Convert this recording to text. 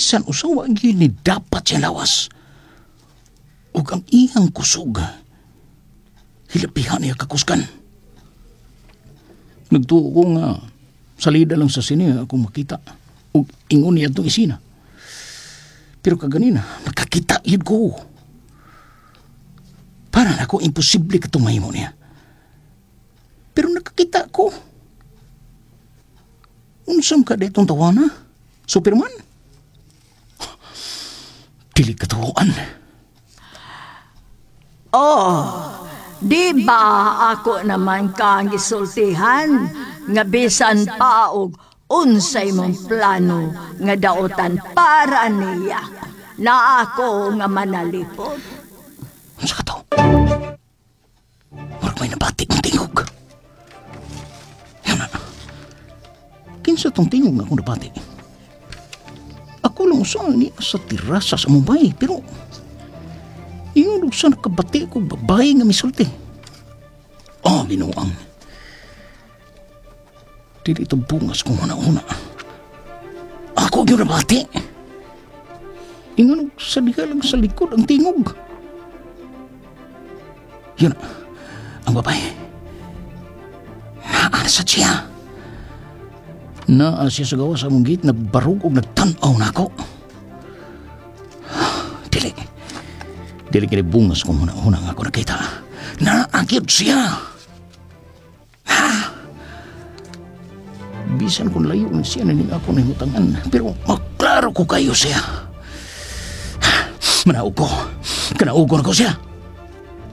Bisan usa wa gyud ni dapat sa lawas. Ug ang iyang kusog, hilabihan niya kakusgan. Nagtuo ko nga salida lang sa sine akong makita ug ingon niya itong isina. Pero kaganina, nakakita yun ko. Para nako imposible katong mahimo niya. Pero nakakita ko. Unsam ka ditong tawana? Superman? Dili katuoan. Oh, di ba ako naman kang gisultihan nga bisan pa og unsay mong plano nga daotan para niya na ako nga manalipod? Unsa ka to? Murag may nabati kong tingog. Yan na. Kinsa tong tingog nga akong nabati? Ako lang usa ni sa terasa sa Mumbai, pero ingon og sa nakabati ko babae nga misulti. Oh, binuang. Dili ito bungas kong una-una. Ako yung nabati. Ingon og sa diha lang sa likod ang tingog. Yun, ang babae. Naa sa siya. Naa siya sa gawas sa among gate, nagbarug og nagtan-aw na ako. Dili. Dili kini bungas kung una-una nga ako nakita. Naa gyud siya. Ha? Bisan kung layo na siya na ako nahimutangan, pero maklaro ko kayo siya. Manaog ko. Kanaugon ko siya.